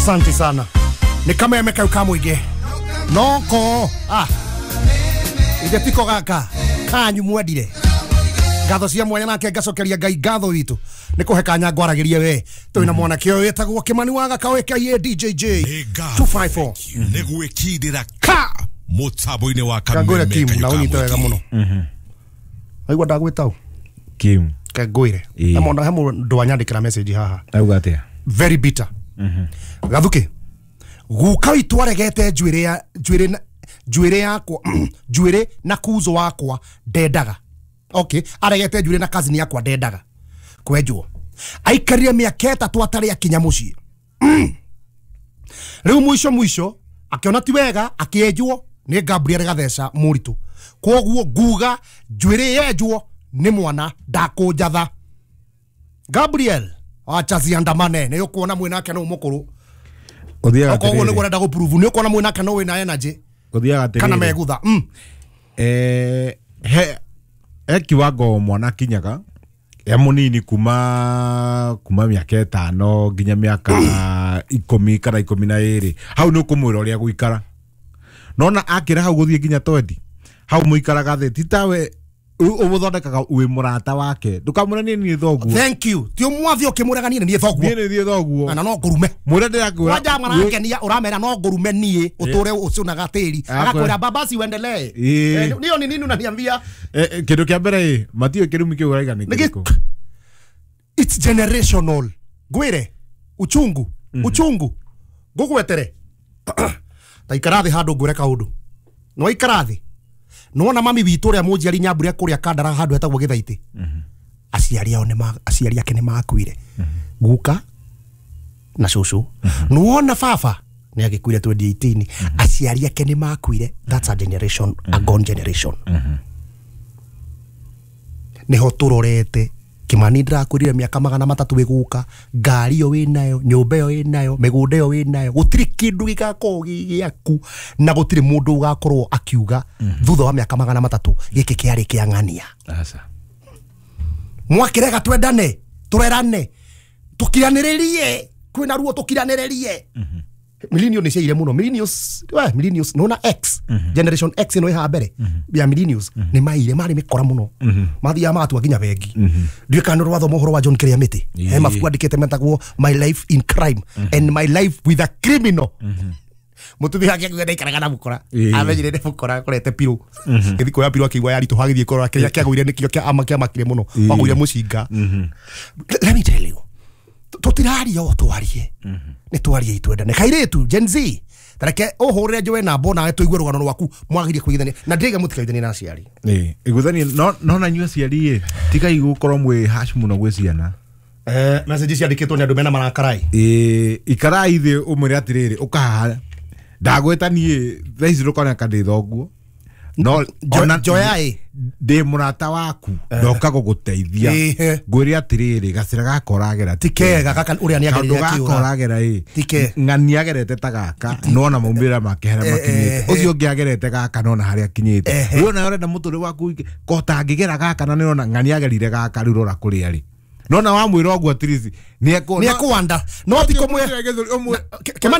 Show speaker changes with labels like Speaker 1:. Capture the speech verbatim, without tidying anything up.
Speaker 1: Asante sana. Ni kameme kau ka muingi. Noko ah. Ithe tiko gaka kanyu mwendire. Ngatho cia mwanya nake ngacokeria Ngai ngatho witu. Ni kuhe kanya ngwaragirie we. Twina mwanake uyu wetagwo Kimani wa Gaka aka D J J two five four.
Speaker 2: Ni gwikindira ka mutambo-ini wa kameme.
Speaker 1: Kangwire Kim na unyite wega muno. Mhm. Aigua ndagwita
Speaker 3: Kim.
Speaker 1: Kangwire. He mundu he mundu anyandikira message haha.
Speaker 3: Auga atia?
Speaker 1: Very bitter. Mhm. Gathuki. Guka witu aregete njuire ya njuire njuire yakwa njuire na kuzo wakwa ndendaga. Okay, aregete njuire na cousin yakwa ndendaga. Kwenjwo. Aikarire miaka ĩtatũ atarĩ akinya mũciĩ. Rĩu mwisho mwisho akiona ti wega akienjwo nĩ Gabriel Gatheca mũritũ. Koguo nguga njuĩrĩ yenjwo nĩ mwana ndakũnjatha. Gabriel acha ziandamane nĩ ũkuona mwĩnake no mũkũrũ.
Speaker 3: Ũthiaga atĩrĩrĩ.
Speaker 1: Koguo nĩguo ũrenda gũprove nĩ ũkuona mwĩnake no wĩna energy.
Speaker 3: Ũthiaga atĩrĩrĩ.
Speaker 1: Kana megutha. Mm.
Speaker 3: Eh he he kiwango mwana kinyaga ya munini kuma kuma miaka ĩtano nginya miaka ikumi kana ikumi na ĩrĩ hau nĩ ũkũmwĩra ũrĩa gũikara nona akĩra hau gũthiĩ nginya twendi hau mũikaraga thĩ ti tawe ũmũthondekaga wĩ mũrata wake ndũkamwĩre niĩ niĩ thoguo.
Speaker 1: Thank you. Ti ũmwathi ũkĩmũrega niĩ niĩ thoguo.
Speaker 3: Niĩ niĩ thoguo.
Speaker 1: Na no ngũrume.
Speaker 3: Mwĩre ndĩrakwĩra.
Speaker 1: Kwanja marakenia ũramera no ngũrume niĩ ũtũre ũcunaga tĩri. Agakwĩra baba si uendelee. Niyo ni nini unaniambia?
Speaker 3: Kĩndũ kĩa mbere ĩ matiũĩ kĩrumi kĩu ũraiga nĩ kĩrĩkũ.
Speaker 1: It's generational. Ngwĩre uchungu uchungu ngũgwetere. Ta ikara thĩ handũ ngwĩre kaũndũ. No ikara thĩ. Nona mami witũ ũrĩa mũnjiari Nyambura kũrĩa Kandara handũ hetagwo Gĩthaitĩ. Aciari ao nĩ aciari ake nĩ makuire. Guka na cũcũ. Nĩwona baba nĩ agĩkuire twenty eighteen. Aciari ake nĩ makuire. That's a generation, a gone generation. Nĩho tũrorete Kimani ndĩrakwĩrire mĩaka magana matatũ ĩgũka, ngari ĩyo wĩnayo, nyũmba ĩyo wĩnayo, mĩgũnda ĩyo wĩnayo, gũtirĩ kĩndũ gĩgakorwo gĩ gĩaku na gũtirĩ mũndũ ũgakorwo akiuga thutha wa mĩaka magana matatũ gĩkĩ kĩarĩ kĩa ng'ania.
Speaker 3: Aca.
Speaker 1: Mwakĩrega twendane, tũrerane, tũkiranĩrĩrie, kwĩna ruo tũkiranĩrĩrie. Millennials nĩ ciaire mũno. Millennials, we millennials nona X, generation X ĩno ĩhaha mbere ya millennials nĩ maire marĩ mĩkora mũno. Mathiaga magatua nginya bengi. Ndiũĩ kana nĩ ũrathoma ũhoro wa John Kĩrĩamĩtĩ. He mabuku andĩkĩte metagwo My Life in Crime and My Life with a Criminal. Mũtumia wake akiuga ndaikaraga na mũkora. Amenyire nĩ mũkora akorete pirũ. Gĩthiĩ kuoya pirũ akĩigua yaritũha agĩthiĩ kũrora kĩrĩa kĩagũire nĩkĩo kĩamakire mũno. Wagũire mũcinga. Let me tell you. Tũtiraria o twarie. Nĩ twarie itwendane. Kairĩtu Gen Z tareke ũhũrĩre njoe namba nawe tũigue rũgano rwaku mwagirie kũiguithania na ndĩraiga mũtikaiguithanie na aciari.
Speaker 3: Ĩĩ iguithanie no no na inyuĩ aciari ĩ tigai gũkorwo mwĩ harsh mũno gwĩ ciana.
Speaker 1: Eh message ciandĩkĩtwo nĩ andũ mena marakarai.
Speaker 3: Ĩĩ ikarai thĩ ũmwĩre atĩrĩrĩ ũkahaha ndagwĩta niĩ thaa ici ndũkoneka ndĩ thoguo no ona
Speaker 1: njoya ĩ
Speaker 3: ndĩ mũrata waku ndoka gũgũteithia ngwĩre atĩrĩrĩ gacĩra gaka ũragera
Speaker 1: ti kega gaka ũrĩa nĩagerire
Speaker 3: akĩũra gaka ũragera ĩ ng'ani agerete ta gaka nona maumĩrĩra make harĩa makinyĩte ũcio ũngĩ agerete gaka nona harĩa akinyĩte rĩu ona ũrenda mũtũrĩre waku ko ũtangĩgera gaka na nĩũrona ng'ani agerire gaka rĩu rora kũrĩa rĩ nona wamwĩra ũguo at least nĩekũwanda
Speaker 1: no ti kũmwĩra Kimani.